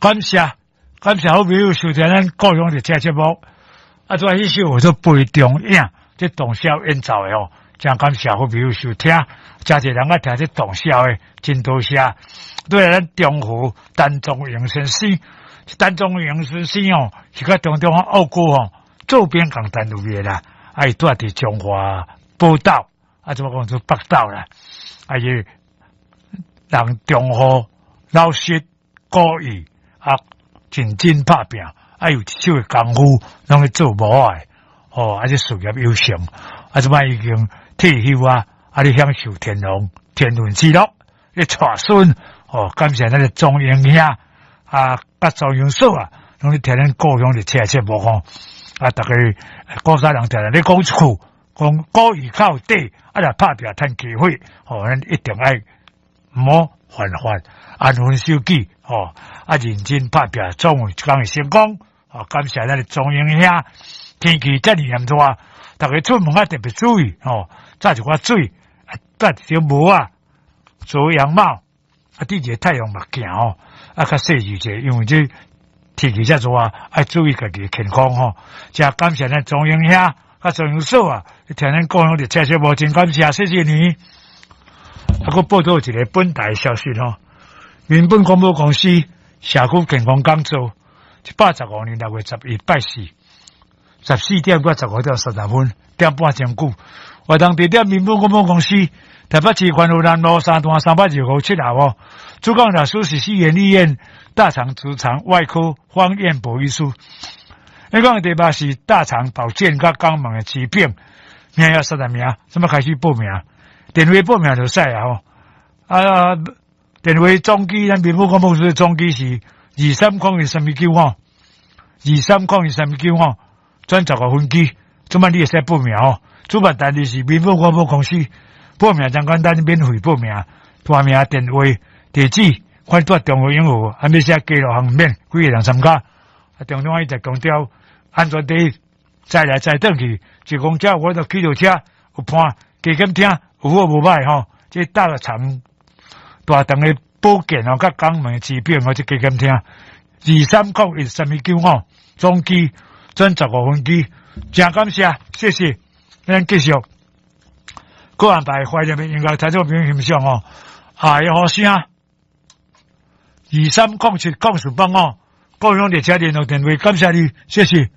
感謝感謝好朋友收聽咱故鄉列車節目。啊，拄仔彼首叫做《杯中影》，這董瀟演奏的哦，真感謝好朋友收聽，誠濟人愛聽這董瀟的，真多謝。對咱中和陳宗榮先生，陳宗榮先生哦，是佮中中澳股吼做兵仝單位的啦，啊，伊住佇彰化寶島，啊，怎麼講做北斗啦，啊，伊人忠厚老實古意啊，認真拍拚，啊，有一手的功夫，攏咧做模仔的，哦，啊，這事業有成，啊，這擺已經退休啊，啊，咧享受天倫天倫之樂，咧帶孫，哦，感謝咱的宗榮兄啊，佮宗榮嫂啊，攏咧聽咱故鄉列車節目吼，啊，逐家古早人定定咧講一句，講古語較有底，啊，若拍拚趁機會，吼，咱一定愛毋好犯法，安分守己，吼，啊，認真拍拚，總有一工會成功。哦，感謝咱的宗榮兄，天氣遮爾炎熱，逐家出門愛特別注意，吼，紮一寡水，啊，戴一頂帽仔，遮陽帽，啊，戴一个太陽目鏡吼，啊，較細緻者，因為這天氣遮熱，愛注意家己的健康吼。真感謝咱宗榮兄，佮宗榮嫂啊，聽咱故鄉列車節目，真感謝，謝謝你。啊，閣報道一个本台消息吼，民本廣播公司社區健康講座，115年6月11拜四，14點到15點30分，點半鐘久。活動地點民本廣播公司，台北市環湖南路三段325七號哦。主講老師是西園醫院大腸直腸外科方彥博醫師。你講的題目是大腸保健佮肛門的疾病，名額30名，這擺開始報名？電話報名就使啊吼。啊，電話總機咱民本廣播公司的總機是2301-319吼，2301-319，轉15分機，這擺你會使報名吼。主辦單位是民本廣播公司，報名真簡單，免費報名，大名、電話、地址，看蹛中和永和，還欲寫街路項免，幾个人參加。啊，中央一直強調安全第一，載來載轉去，一公車我都去到車有伴，加減聽有好無歹吼。這大腸大腸的保健哦，佮肛門的疾病哦，這加減聽。2301-319，總機轉15分機，真感謝，謝謝。咱繼續，閣安排懷念的音樂，聽眾朋友欣賞哦。愛的呼聲，23070405，故鄉列車聯絡電話，感謝你，謝謝。